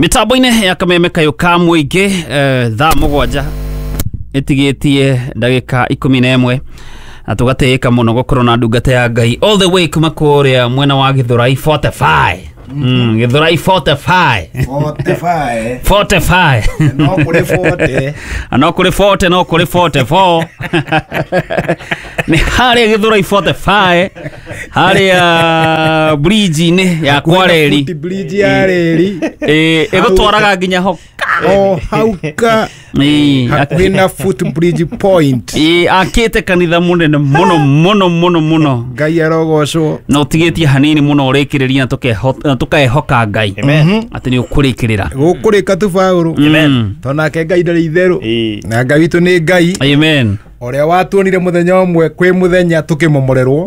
Mitambo-inĩ ya kameme kayũ ka mũingĩ, thaa 7 ĩtigĩtie ndagĩka 11, na tũgatĩĩka mũno gũkorwo na ndungata ya Ngai all the way kuma kũrĩa mwena wa Gĩthũrai 45. Gĩthũrai 45. 45. 45. No kũrĩ 40. No kũrĩ 40, no kũrĩ 44. Nĩ harĩa Gĩthũrai 45, harĩa bridge-inĩ ya Kwareri. Foot bridge ya reri. Ĩgũtwaraga nginya ho. O hau ka hakuhĩ na foot bridge point. Akĩte kanitha mũnene mũno mũno mũno mũno. Ngai arogocwo. Na ũtigĩtie hanini mũno ũrĩkĩrĩria na tũkehoka Ngai. Amen. Atĩ nĩ ũkũrĩkĩrĩra. Gũkũrĩka tu Paũlũ. Amen. Tondũ nake Ngai ndarĩ itherũ. Ĩĩ. Na Ngai witũ nĩ Ngai. Amen. Ũrĩa watuonire mũthenya ũmwe kwĩ mũthenya tũkĩmomorerwo.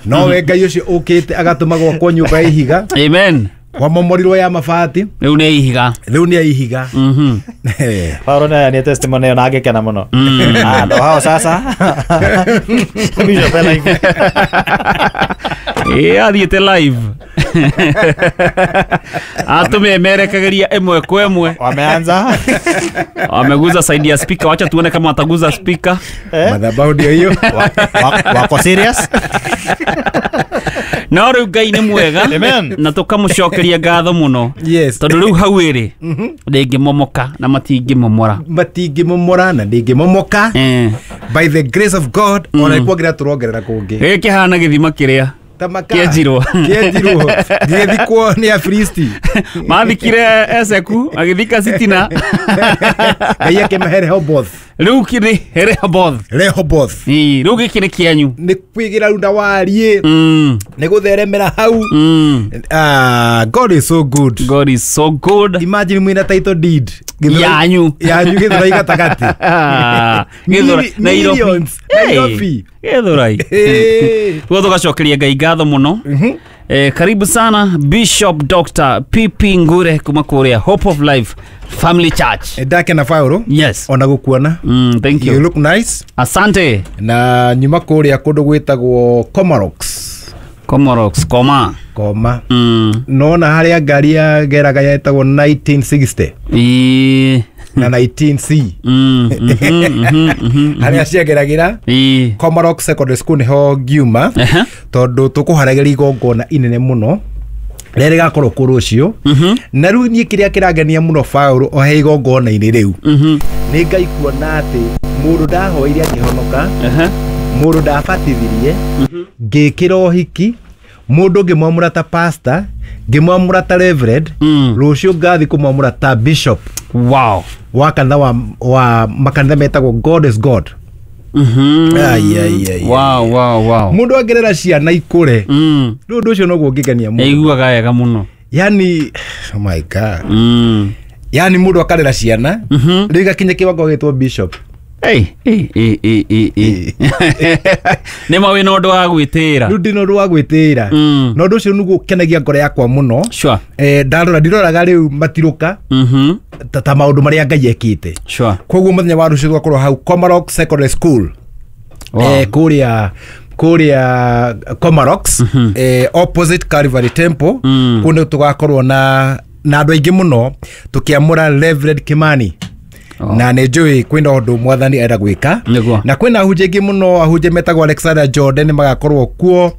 Nowe Ngai ũcio ũkĩte agatũma gwakwo nyũmba ya ihiga. Amen. Wamomorirwo ya mabati. Rĩu nĩ ihiga. Rĩu nĩ ya ihiga. Paulo naye ni testimony ĩyo na angĩkena mũno. Ah, ndo hao sasa. Bishop live. Athiĩte live. Atũmemerekagĩria ĩmwe kwa ĩmwe. Wameanza. Wameguza side ya speaker, wacha tuone kama wataguza speaker. Madhabahu ndio hiyo. Wako serious? No rĩu Ngai nĩ mwega. Amen. Na tũkamũcokeria ngatho mũno. Yes. Tondũ rĩu hau ĩrĩ ndĩngĩmomoka na matingĩmomora. Matingĩmomora na ndĩngĩmomoka. By the grace of God, ona nĩ kuongerera tũrongerera kũngĩ. Gĩkĩ kĩhana gĩthima kĩrĩa Ta maka. Kĩenjirwo. Kĩenjirwo. Gĩgĩthikwo nĩ Afilisti. Mathikire Eseku magĩthika Sitina. Ngai akĩmahe Rehoboth. Rĩu kĩrĩ Rehoboth. Rehoboth. Ĩĩ, rĩu gĩkĩ nĩ kĩanyu. Nĩ kwĩgĩra runda wariĩ. Nĩ gũtheremera hau. God is so good. God is so good. Imagine mwĩna title deed. Yanyu. Yanyu Gĩthũrai gatagatĩ. Gĩthũrai. Nairobi. Millions. Nairobi. Gĩthũrai. Guo tũgacokeria Ngai ngatho mũno. Karibu sana Bishop Dr. PP Ngure kuma kũrĩa Hope of Life Family Church. Ndakena Paũlũ. Yes. Ona gũkuona. Thank you. You look nice. Asante. Na nyuma kũrĩa kũndũ gwĩtagwo Comarox. Comarox, koma. Koma. Nona harĩa ngari yageraga yetagwo 1960. Na 19C. Harĩa ciageragĩra. Comarox Secondary School nĩho ngiuma. Tondũ tũkũharagĩria igongona inene mũno rĩrĩa rĩgakorwo kũ rũciũ. Na rĩu niĩ kĩrĩa kĩrangenia mũno Paũlũ o he igongona-inĩ rĩu. Nĩ Ngai kuona atĩ mũndũ ndahoire akĩhonoka, mũndũ ndabatithirie, ngĩkĩra ũhiki, mũndũ ngĩmwamũra ta pastor, ngĩmwamũra ta reverend, rũciũ ngathi kũmwamũra ta bishop. Wow. Wa kanitha wa makanitha metagwo God is God. Ai, ai, ai, Wow, wow, wow. Mũndũ angerera ciana ikũre. Rĩu ũndũ ũcio noguo ũngĩngenia mũndũ. Aiguaga wega mũno. Yani, oh my God. Yani mũndũ akarera ciana, rĩu igakinya kĩwango gĩtwo bishop. Hey, hey, hey, hey, hey, hey. Nĩ ma wĩna ũndũ wa gwĩtĩĩra. Rĩu ndĩna ũndũ wa gwĩtĩĩra. Na ũndũ ũcio nĩguo ũkenagia ngoro yakwa mũno. Sure. Ndarora, ndiroraga rĩu matirũka ta maũndũ marĩa Ngai ekĩte. Sure. Koguo mũthenya wa rũciũ tũgakorwo hau Comarox Secondary School. Wow. Kũrĩa Comarox, opposite Calvary Temple. Kũu nĩ tũgakorwo na andũ aingĩ mũno tũkĩamũra Reverend Kimani. Na nĩ njũĩ kwĩna ũndũ mwathani enda gwĩka. Na kwĩna ahunjia aingĩ mũno, ahunjia metagwo Alexander Jordan magakorwo kuo,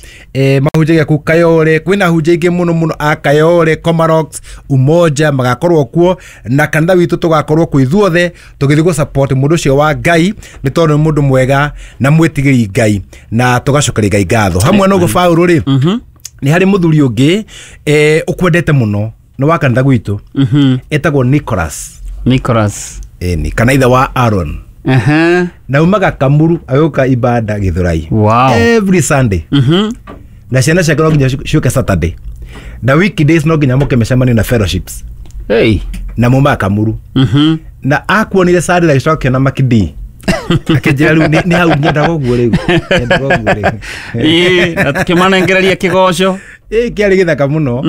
mahunjagia kũu Kayole. Kwĩna ahunjia aingĩ mũno mũno a Kayole, Comarox, Umoja magakorwo kuo, na kanitha witũ tũgakorwo kuo ithuothe tũgĩthiĩ gũ support mũndũ ũcio wa Ngai, nĩ tondũ nĩ mũndũ mwega na mwĩtigĩri Ngai, na tũgacokeria Ngai ngatho. Hamwe na ũguo Paũlũ rĩ, nĩ harĩ mũthuri ũngĩ, ũkwendete mũno, nĩ wa kanitha gwitũ. Etagwo Nicholas. Nicholas. Eni, kana ithe wa Aaron. Na umaga Kamuru agĩũka ibada Gĩthũrai. Wow. Every Sunday. Na ciana ciake no nginya ciũke Saturday. Na weekdays no nginya mũke mĩcemanio na fellowships. Hey. Na mumaga Kamuru. Na akuonire Saturday agĩcoka akĩona Makidi. Akĩnjĩra rĩu nĩ hau nyendaga ũguo rĩu. Nyendaga ũguo rĩu. Ĩĩ, na tũkĩmanengereria kĩgoco. Kĩarĩ gĩthaka mũno.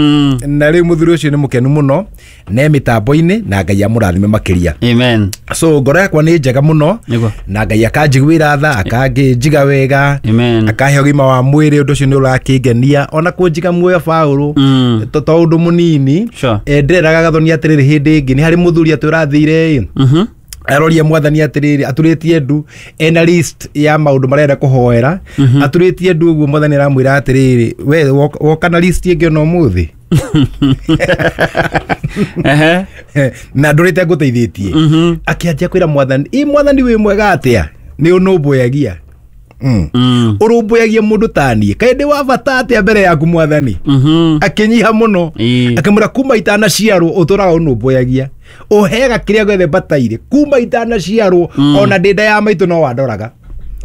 Na rĩu mũthuri ũcio nĩ mũkenu mũno ne mĩtambo-inĩ na Ngai amũrathime makĩria. Amen. So ngoro yakwa nĩ njega mũno. Nĩguo. Na Ngai akanjiguĩra tha, akanjiga wega. Amen. Akahe ũgima wa mwĩrĩ, ũndũ ũcio nĩ ũrakĩngenia ona kũnjiga muoyo Paũlũ. To ũndũ mũnini. Sure. Ndĩreraga Gathoni atĩrĩrĩ, hĩndĩ ĩngĩ nĩ harĩ mũthuri atĩ ũrathire ĩ aroria mwathani atĩrĩrĩ, aturĩtie ndu ena list ya maũndũ marenda kũhoera, aturĩtie ndu ũguo mwathani aramwĩra atĩrĩrĩ, we woka na list ĩngĩ ona ũmũthĩ. Na ndũrĩte ngũteithĩtie. Akĩanjia kwĩra mwathani, ĩ mwathani wĩ mwega atĩa, nĩ ũnũmbũyagia. Ũrũmbũyagia mũndũ ta niĩ, kaĩ ndĩ wa bata atĩa mbere yaku mwathani. Akĩnyiha mũno. Akĩmwĩra kuma itanaciarwo ũtũraga ũnũmbũyagia, ũheaga kĩrĩa gĩothe mbataire kuma itanaciarwo, ona ndĩ nda ya maitũ no wandoraga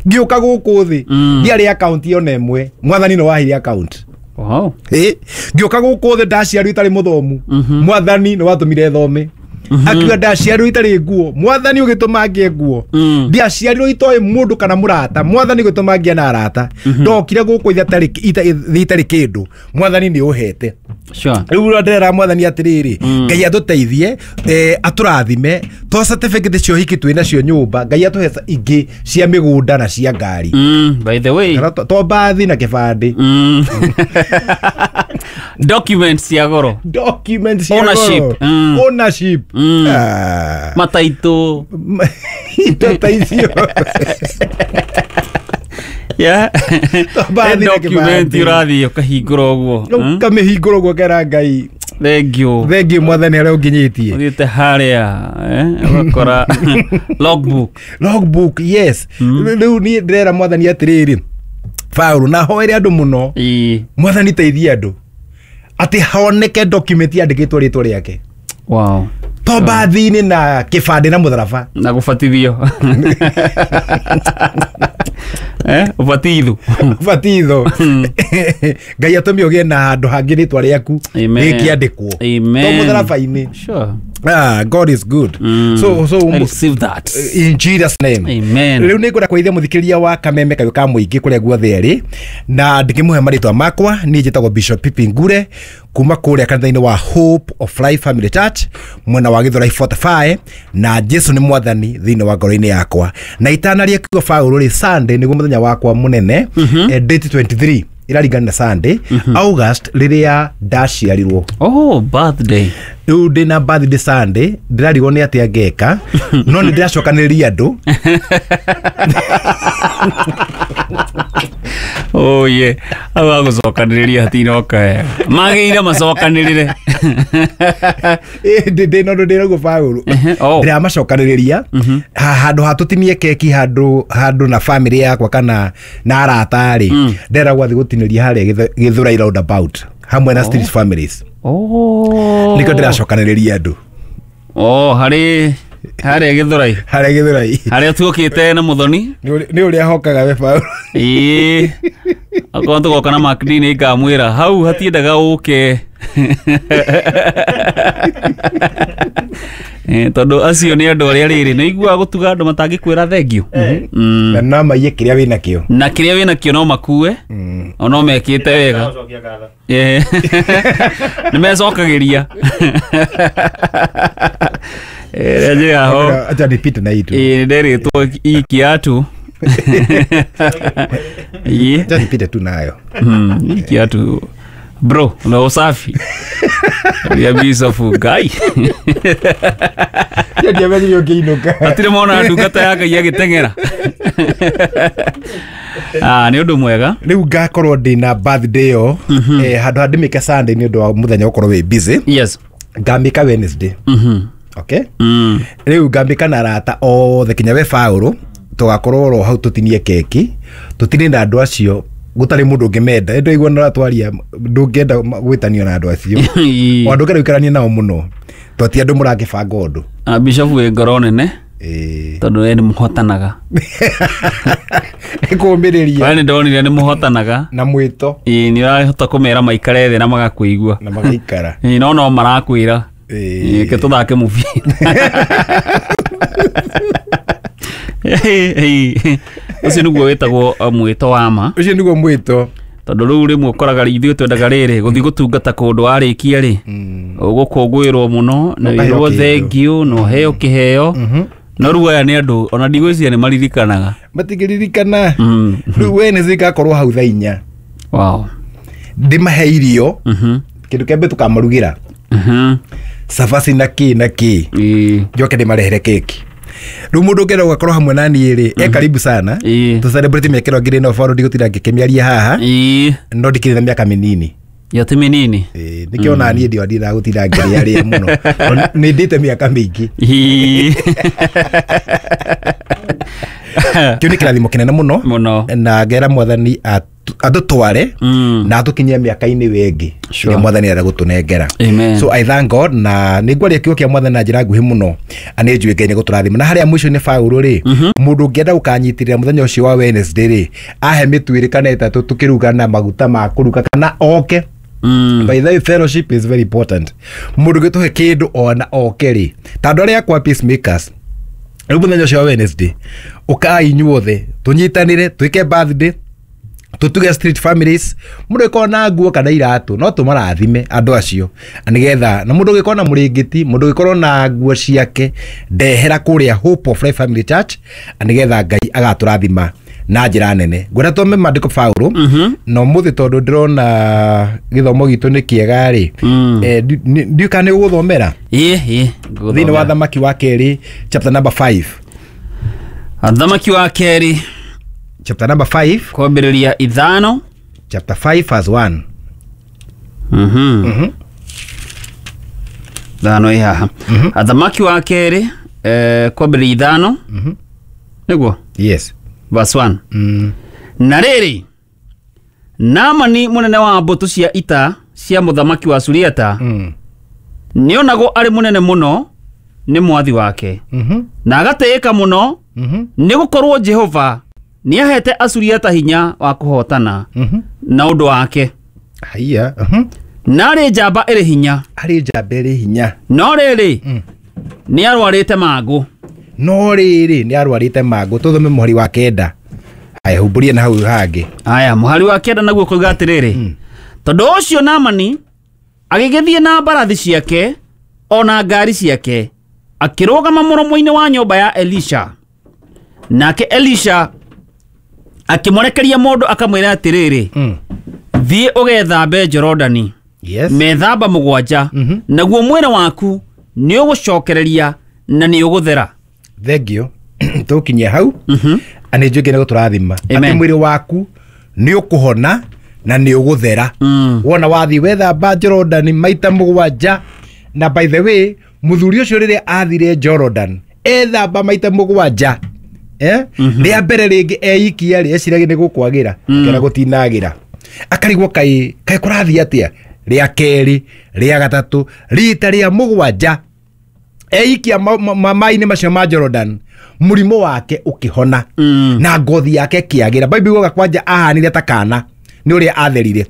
ngĩũka gũkũ thĩ. Ndiarĩ akaunti ona ĩmwe, mwathani no waheire akaunti. Wow. Ngĩũka gũkũ thĩ ndaciarwo itarĩ mũthomu, mwathani nĩ watũmire thome. Akiuga ndaciarirwo itarĩ nguo, mwathani ũgĩtũma ngĩe nguo. Ndiaciarirwo itoĩ mũndũ kana mũrata, mwathani ũgĩtũma ngĩe na arata. Ndokire gũkũ thĩ itarĩ kĩndũ, mwathani nĩ ũhete. Sure. Rĩu ndĩrera mwathani atĩrĩrĩ, Ngai atũteithie, atũrathime to certificate cia ũhiki twĩ nacio nyũmba, Ngai atũhe ingĩ cia mĩgũnda na cia ngari. By the way. Kana to mbathi na kĩbandĩ. Documents cia goro. Documents cia Ownership. goro. Ownership. Mataitũ. Indo ta icio. Yeah. To mbathi na Document kĩbandĩ. ũrathiĩ ũkahingũra ũguo. Ũkamĩhingũra ũguo ũkera Ngai, Thank you. thengiũ mwathani harĩa ũnginyĩtie. Ũthiĩte harĩa ũgakora logbook. Logbook, yes. Rĩu niĩ ndĩrera mwathani atĩrĩrĩ, Paũlũ, na hoere andũ mũno, mwathani teithie andũ atĩ honeke document yandĩkĩtwo rĩtwa rĩake. Wow. To mbathi-inĩ na kĩbandĩ na mũtharaba. Na gũbatithio. Ũbatitho. Ũbatitho. Ngai atũme ũgĩe na handũ hangĩ rĩtwa rĩaku Amen. rĩkĩandĩkwo. Amen. To mũtharaba-inĩ. Sure. God is good. So I receive that. In Jesus name. Amen. Rĩu nĩ ngwenda kũgeithia mũthikĩrĩria wa Kameme Kayũ ka Mũingĩ kũrĩa guothe arĩ, na ndĩkĩmũhe marĩtwa makwa. Niĩ njĩtagwo Bishop Pipi Ngure kuma kũrĩa kanitha-inĩ wa Hope of Life Family Church mwena wa Githurai 45, na Jesu nĩ mwathani thĩinĩ wa ngoro-inĩ yakwa. Na itanaria kiugo Paũlũ rĩ, Sunday nĩguo mũthenya wakwa mũnene, date 23 ĩraringana na Sunday, August, rĩrĩa ndaciarirwo. Oh, birthday. Rĩu ndĩ na birthday Sunday, ndĩrarigwo nĩ atĩa ngeka, no nĩ ndĩracokanĩrĩria andũ. Oh yeah. Hau agũcokanĩrĩria hatinoka wega. Magĩire macokanĩrĩre. Ndĩ na ũndũ ndĩraguo Paũlũ. Oh. Ndĩramacokanĩrĩria handũ ha tũtinie keki handũ na family yakwa kana na arata rĩ, ndĩrenda gwathiĩ gũtinĩria harĩa Githurai roundabout hamwe na street families. Oh. Nĩkĩo ndĩracokanĩrĩria andũ. Oh, harĩ harĩa Githurai. Harĩa Githurai. Harĩa tuokĩte na Muthoni. Nĩ ũrĩa hokaga we Paũlũ. Ĩĩ. Akorwo tũgoka na Macd nĩ ngamwĩra hau hatiendaga ũke. Tondũ acio nĩ andũ arĩa rĩrĩ nĩ iguaga gũtuga andũ matangĩkwĩra thengiũ. Na no maiye kĩrĩa wĩnakĩo. Na kĩrĩa wĩnakĩo no makue. O no mekĩte wega. Nĩ mecokagĩria. Rĩa njĩra ho. Acha nipite na itu. Nĩ nderĩtwo ikiatu. Acha nipite tu nayo. Ikiatu. Bro, na usafi. Ria Bishop Ngai. Ndiamenyire ũngĩinũka. Hatirĩ mona ndungata ya Ngai agĩteng'era. Nĩ ũndũ mwega. Rĩu ngakorwo ndĩna birthday ĩyo, handũ ha ndĩmĩke Sunday nĩ ũndũ wa mũthenya gũkorwo wĩ busy. Yes. Ngamĩka Wednesday. Okay? Rĩu ngambĩka na arata othe kinya we Paũlũ, tũgakorwo oro hau tũtinie keki, tũtinie na andũ acio gũtarĩ mũndũ ũngĩmenda. Ĩndĩ waigua nĩ ũratwaria, ndũngĩenda gwĩtanio na andũ acio. O andũ ũngĩenda gũikarania nao mũno, to ti andũ mũrangĩbanga ũndũ. Bishop wĩ ngoro nene. Tondũ we nĩ mũhotanaga. Nĩ kũũmĩrĩria. We nĩ ndonire nĩ mũhotanaga. Na mwĩto. Nĩ ũrahota kũmera maikare thĩ na magakũigua. Na magaikara. No marakwĩra. Reke tũthake mũbira. Ũcio nĩguo wĩtagwo mwĩto wa ma. Ũcio nĩguo mwĩto. Tondũ rĩu rĩmwe ũkoraga ithuĩ twendaga rĩrĩ gũthiĩ gũtungata kũndũ warĩkia rĩ ũgũkũngũĩrwo mũno na Ũkaheo wĩrwo kĩndũ. thengiũ na ũheo kĩheo. No rĩu aya nĩ andũ ona ndigwĩciria nĩ maririkanaga. Matingĩririkana. Rĩu Wednesday ngakorwo hau thaa 4. Wow. Ndĩmahe irio. Kĩndũ kĩa mbere tũkamarugĩra cabaci na kĩ na kĩ. Njoke ndĩmarehere keki. Rĩu mũndũ ũngĩenda gũgakorwo hamwe na niĩ rĩ, e karibu sana. Tũ celebrate mĩaka ĩno ngĩrĩ no bado ndigũtinda ngĩkĩmĩaria haha. No ndikĩrĩ na mĩaka mĩnini. Yo ti mĩnini. Nĩkĩo ona niĩ ndio ndindaga gũtinda ngĩrĩarĩa mũno. Nĩ ndĩte mĩaka mĩingĩ. Kĩu nĩ kĩrathimo kĩnene mũno. Mũno. Na ngera mwathani atũtware na atũkinyie mĩaka-inĩ wengĩ. Sure. Ĩrĩa mwathani arenda gũtũnengera. Amen. So I thank God na nĩ ngwaria kiugo kĩa mwathani na njĩra nguhĩ mũno. Nĩ njũĩ Ngai nĩ gũtũrathima. Na harĩa mũico-inĩ Paũlũ rĩ, mũndũ ũngĩenda gũkanyitĩrĩra mũthenya ũcio wa Wednesday rĩ, ahe mĩtu ĩrĩ kana ĩtatũ tũkĩruga na maguta ma kũruga kana oke. By the way, fellowship is very important. Mũndũ ũngĩtũhe kĩndũ ona oke rĩ, ta andũ arĩa akwa peacemakers, rĩu mũthenya ũcio wa Wednesday, ũkai inyuothe tũnyitanĩre twĩke birthday, tũtuge street families. Mũndũ ũngĩkorwo na nguo kana iratũ no tũmarathime andũ acio nĩgetha, na mũndũ ũngĩkorwo na mũrĩngĩti, mũndũ ũngĩkorwo na nguo ciake, ndehera kũrĩa Hope of Life Family Church nĩgetha Ngai agatũrathima na njĩra nene. Ngwenda tũme maandĩko Paũlũ na ũmũthĩ tondũ ndĩrona gĩthomo gitũ nĩ kĩega rĩ, ndiũĩ kana nĩ ũgũthomera thĩinĩ wa Thamaki wa kerĩ chapter number 5. Thamaki wa kerĩ Chapter number 5. Kwambĩrĩria 5. Chapter 5 verse 1. 5 ĩ haha. Thamaki wa kerĩ kwambĩrĩria 5. Nĩguo? Yes. Verse 1. Na rĩrĩ, Naamani mũnene wa mbũtũ cia ita cia mũthamaki wa Suriata nĩonagwo arĩ mũnene mũno nĩ mwathi wake na agatĩĩka mũno nĩ gũkorwo Jehova nĩahete Asuriata hinya wa kũhotana na ũndũ wake. Haiya. Na arĩ njamba ĩrĩ hinya. Arĩ njamba ĩrĩ hinya. No rĩrĩ, nĩarwarĩte mangũ. No rĩrĩ, nĩarwarĩte mangũ. Tũthome mũhari wa 9. Aya, humbũrie na hau hangĩ. Aya, mũhari wa 9 naguo kuuga atĩrĩrĩ, tondũ ũcio Naamani agĩgĩthiĩ na mbarathi ciake ona ngari ciake akĩrũgama mũromo-inĩ wa nyũmba ya Elisha. Nake Elisha akĩmũrekeria mũndũ akamwĩra atĩrĩrĩ, thiĩ ũgethambe Jorodani. Yes. Methamba 7, naguo mwĩrĩ waku nĩ ũgũcokereria na nĩ ũgũthera. Thank you. Tũkinyia hau. Nĩ njũĩ Ngai nĩ gũtũrathima. Amen. Atĩ mwĩrĩ waku nĩ ũkũhona na nĩ ũgũthera. Wona wathiĩ wethamba Jorodani maita 7. Na by the way, mũthuri ũcio rĩrĩa athire Jordan ethamba maita 7, rĩa mbere rĩngĩ eikia rĩ, eciragia nĩ gũkwagĩra, akĩona gũtinagĩra, akarigwo kaĩ kũrathiĩ atĩa. Rĩa kerĩ, rĩa gatatũ, rita rĩa 7 eikia maĩ-inĩ macio ma Jordan, mũrimũ wake ũkĩhona na ngothi yake ĩkĩagĩra. Bible yugaga kwanja ahanire ta kana nĩ ũrĩa atherire.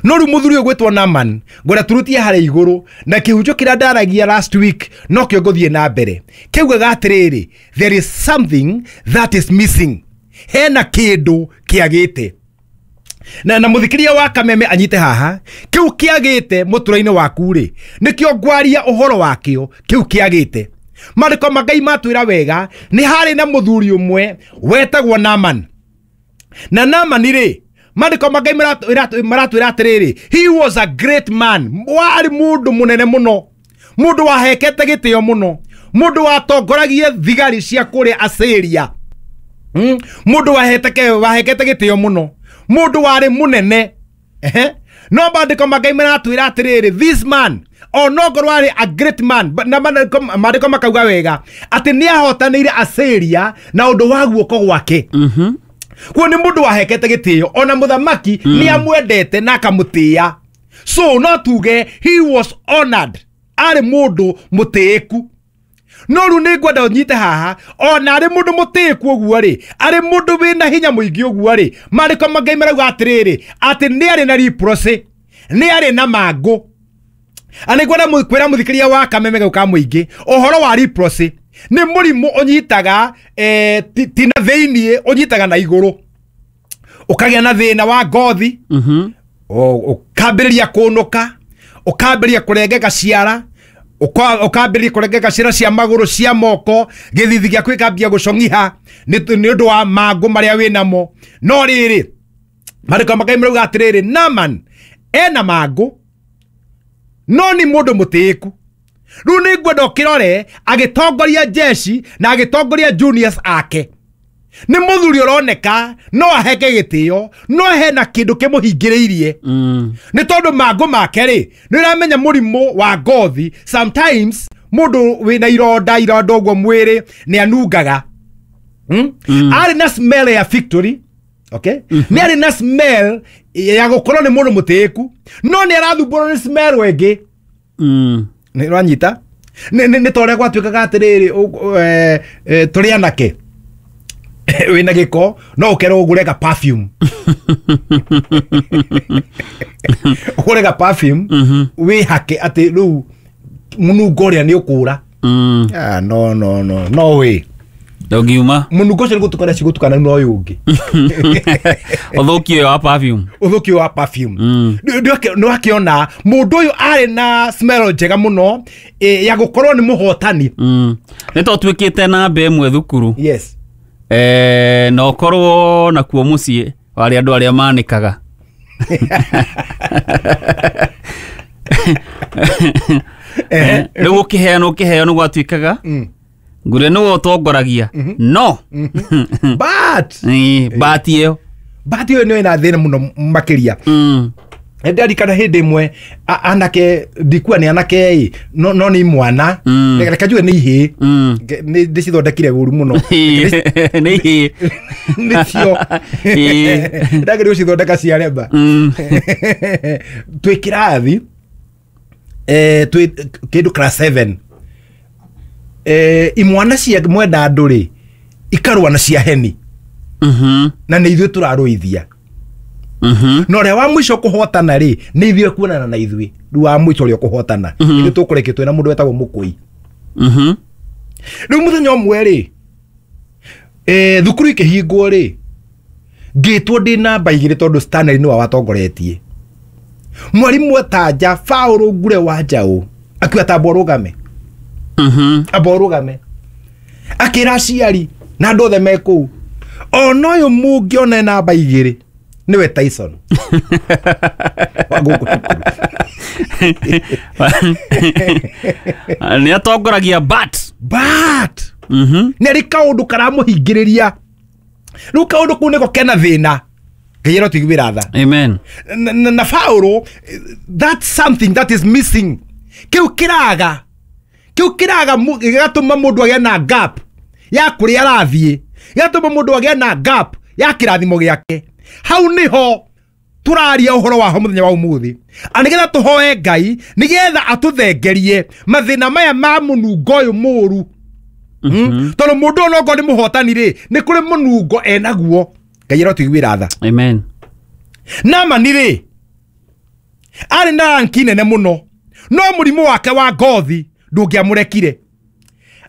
No rĩu mũthuri ũyũ gwĩtwo Naaman, ngwenda turutie harĩa igũrũ na kĩhunjio kĩrĩa ndaragia last week no kĩo ngũthiĩ na mbere. Kĩaugaga atĩrĩrĩ, there is something that is missing. Hena kĩndũ kĩagĩte. Na mũthikĩria wa Kameme anyite haha, kĩu kĩagĩte mũtũra-inĩ waku rĩ, nĩkĩo ngwaria ũhoro wakĩo, kĩu kĩagĩte. Maandĩko ma Ngai matwĩra wega, nĩ harĩ na mũthuri ũmwe wetagwo Naaman. Na Naaman rĩ, maandĩko ma Ngai maratwĩra atĩrĩrĩ, he was a great man, warĩ mũndũ mũnene mũno, mũndũ wahekete gĩtĩo mũno, mũndũ watongoragia thigari cia kũrĩa Asiria. Mũndũ wahekete gĩtĩo mũno, mũndũ warĩ mũnene. No maandĩko ma Ngai maratwĩra atĩrĩrĩ, this man onongorwo arĩ a great man, na maandĩko makauga wega atĩ nĩahotanĩire Asiria na ũndũ wa guoko gwake. Kuo nĩ mũndũ wahekete gĩtĩo, ona mũthamaki nĩamwendete na akamũtĩĩa. So no tuge he was honored, arĩ mũndũ mũtĩĩku. No rĩu nĩ ngwenda ũnyite haha, ona arĩ mũndũ mũtĩĩku ũguo rĩ, arĩ mũndũ wĩna hinya mũingĩ ũguo rĩ, maandĩko ma Ngai marauga atĩrĩrĩ, atĩ nĩ arĩ na leprosy, nĩ arĩ na mangũ. Na nĩ ngwenda kwĩra mũthikĩria wa Kameme gau ka mũingĩ ũhoro wa leprosy nĩ mũrimũ ũnyitaga ti na thĩiniĩ, ũnyitaga na igũrũ. Ũkagĩa na thĩna wa ngothi. Ũkambĩrĩria kũnũka, ũkambĩrĩria kũrengeka ciara, ũkambĩrĩria kũrengeka ciara cia magũrũ, cia moko, gĩthithi gĩaku gĩkambia gũcong'iha nĩ ũndũ wa mangũ marĩa wĩ namo. No rĩrĩ, maandĩko ma Ngai marauga atĩrĩrĩ, Naaman ena mangũ no nĩ mũndũ mũtĩĩku. Rĩu nĩ ngwenda ũkĩrore agĩtongoria jeshi na agĩtongoria juniors ake. Nĩ mũthuri ũroneka no aheke gĩtĩo, no hena kĩndũ kĩmũhingĩrĩirie. Nĩ tondũ mangũ make rĩ, nĩ ũramenya mũrimũ wa ngothi sometimes mũndũ wĩna ironda ironda ũguo mwĩrĩ nĩ anungaga. Arĩ na smell ya victory, okay? Nĩ arĩ na smell ya gũkorwo nĩ mũndũ mũtĩĩku, no nĩ arathumbũrwo nĩ smell ĩngĩ. Nĩ ũranyita? Nĩ ta ũrĩa gwatuĩkaga atĩrĩrĩ, tũrĩ anake wĩna gĩko no ũkerwo ũgũre ga perfume. Ũgũre ga perfume wĩhake atĩ rĩu mũnungo ũrĩa nĩ ũkũra. No no no no way. Ndũngiuma. Mũnungo ũcio nĩ gũtukana cigũtukana na ũyũ ũngĩ. Ũthũki ũyũ wa perfume. Ũthũki wa perfume. Nĩ wakĩona mũndũ ũyũ arĩ na smell njega mũno ya gũkorwo nĩ mũhotani. Nĩ to tuĩkĩte namba ĩmwe thukuru. Yes. Na ũkorwo nakuo mũciĩ warĩ andũ arĩa manĩkaga. Rĩu ũkĩheana ũkĩheo nĩ gwatuĩkaga ngure nĩwe ũtongoragia. No but but ĩyo but ĩyo nĩ ĩna thĩna mũno makĩria. Ndirikana hĩndĩ ĩmwe anake ndikua nĩ anake ĩ no no nĩ mwana reke njuge nĩ ihĩĩ. Nĩ ndĩcithondekire ũru mũno. Nĩ ihĩĩ. Nĩcio ndagĩrĩirwo gũcithondeka ciaremba. Twĩ kĩrathi twĩ kĩndũ class 7, imwana cia mwenda andũ rĩ ikarũa na cia heni. Na nĩ ithuĩ tũrarũithia. Na ũrĩa wa mũico kũhotana rĩ nĩ ithuĩ kuonana na ithuĩ. Rĩu wa mũico ũrĩa ũkũhotana ithuĩ tũkũrekio twĩna mũndũ wetagwo mũkũi. Rĩu mũthenya ũmwe rĩ thukuru ikĩhingwo rĩ ngĩtwo ndĩ namba 2 tondũ Stanley nĩwe watongoretie. Mwarimũ etanja Paul Ngure wa Njaũ akiuga ta amba ũrũgame. Amba ũrũgame. Akĩra aciari na andũ othe me kũu, ona ũyũ mũngĩona namba 2 nĩwe Tyson. Wa gũkũ cukuru. Nĩ atongoragia but nĩ arĩ kaũndũ karamũhingĩrĩria. Rĩu kaũndũ kau nĩko kena thĩna. Ngai arotũiguĩra tha. Amen. Na Paul, that's something that is missing. Kĩu kĩraga gĩgatũma mũndũ agĩe na gap ya kũrĩa arathiĩ, gĩgatũma mũndũ agĩe na gap ya kĩrathimo gĩake. Hau nĩho tũraria ũhoro waho mũthenya wa ũmũthĩ. A nĩgetha tũhoe Ngai nĩgetha atũthengerie mathĩna maya ma mũnungo ũyũ mũru. Tondũ mũndũ ũyũ onokorwo nĩ mũhotani rĩ, nĩ kũrĩ mũnungo enaguo. Ngai arotũiguĩra tha. Amen. Naamani rĩ arĩ na ranki nene mũno, no mũrimũ wake wa ngothi ndũngĩamũrekire.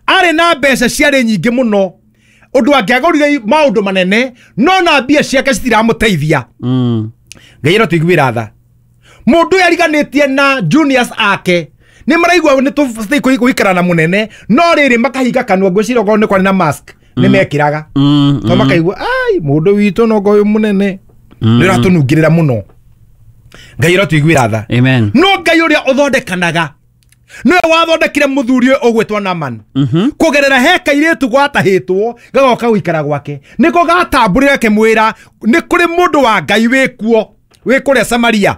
Arĩ na mbeca ciarĩ nyingĩ mũno ũndũ angĩagũrire maũndũ manene, no na mbia ciake citiramũteithia. Ngai arotũiguĩra tha. Mũndũ ũyũ ariganĩtie na juniors ake nĩ maraigua nĩ tũbatiĩ gũikara na mũnene, no rĩrĩ makahinga kanua, ngwĩciria okorwo nĩ kwarĩ na mask nĩ mekĩraga. To makaigua ai mũndũ witũ no ũyũ mũnene nĩ ũratũnungĩrĩra mũno. Ngai arotũiguĩra tha. Amen. No Ngai ũrĩa ũthondekanaga nĩwe wathondekire mũthuri ũyũ ũgwĩtwo Naaman. Kũgerera he kairĩtu gwatahĩtwo gagoka gũikara gwake, nĩko gatambũrĩre akĩmwĩra nĩ kũrĩ mũndũ wa Ngai wĩkuo wĩ kũrĩa Samaria.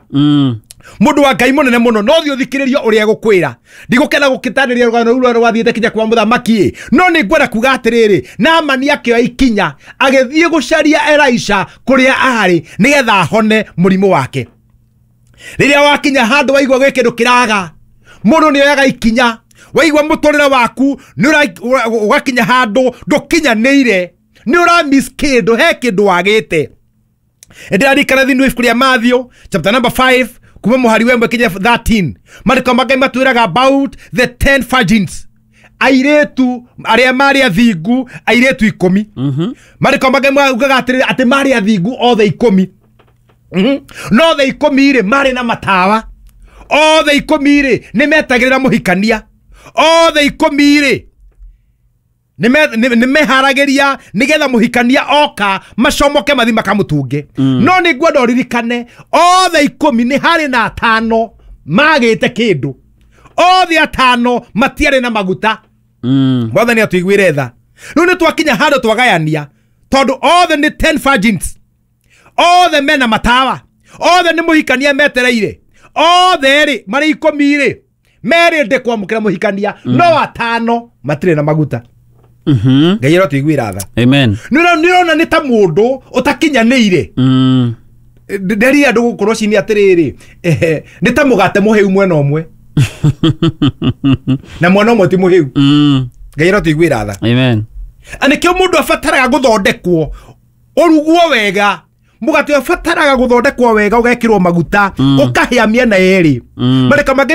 Mũndũ wa Ngai mũnene mũno, no thiĩ ũthikĩrĩrie ũrĩa egũkwĩra. Ndigũkena gũkĩtarĩria rũgano rũu rũrĩa rwathiĩte kinya kwa mũthamaki, no nĩ ngwenda kuga atĩrĩrĩ, Naamani akĩoya ikinya agĩthiĩ gũcaria Elisha kũrĩa arĩ nĩgetha ahone mũrimũ wake. Rĩrĩa wakinya handũ waigua gwĩ kĩndũ kĩraga, mũndũ nĩ oyaga ikinya. Waigua mũtũrĩre waku nĩ ũgakinya handũ ndũkinyanĩire, nĩ ũra miss kĩndũ, he kĩndũ wagĩte. Ndĩraririkana thĩinĩ wa ibuku rĩa Matthew chapter number 5 kuma mũhari wa 1 kinya 13, maandĩko ma Ngai matwĩraga about the 10 virgins. Airĩtu arĩa marĩ athingu, airĩtu 10. Marĩko mangĩ maugaga atĩrĩrĩ, atĩ marĩ athingu othe 10. No othe 10 rĩ, marĩ na matawa. Othe 10 rĩ, nĩ metagĩrĩra mũhikania. Othe 10 rĩ, nĩ meharagĩria nĩgetha mũhikania oka macomoke mathi makamũtunge. No nĩ ngwenda ũririkane othe 10 nĩ harĩ na 5 magĩte kĩndũ. Othe 5 matiarĩ na maguta. Mwathani atũiguĩre tha. Rĩu nĩ twakinya handũ twagayania, tondũ othe nĩ 10 virgins, othe mena matawa, othe nĩ mũhikania metereire, othe rĩ marĩ 10 rĩ merĩndĩ kwamũkĩra mũhikania, no 5 matirĩ na maguta. Ngai arotũiguĩra tha. Amen. Nĩ ũrona nĩ ta mũndũ ũtakinyanĩire. Nderire andũ gũkũ rũcinĩ atĩrĩrĩ, nĩ ta mũgate mũhĩu mwena ũmwe na mwena ũmwe ti mũhĩu. Ngai arotũiguĩra tha. Amen. Na nĩkĩo mũndũ abataraga gũthondekwo, ũrugwo wega. Mũgate ũbataraga gũthondekwo wega, ũgekĩrwo maguta, ũkahĩa mĩena yerĩ. Marĩka mangĩ.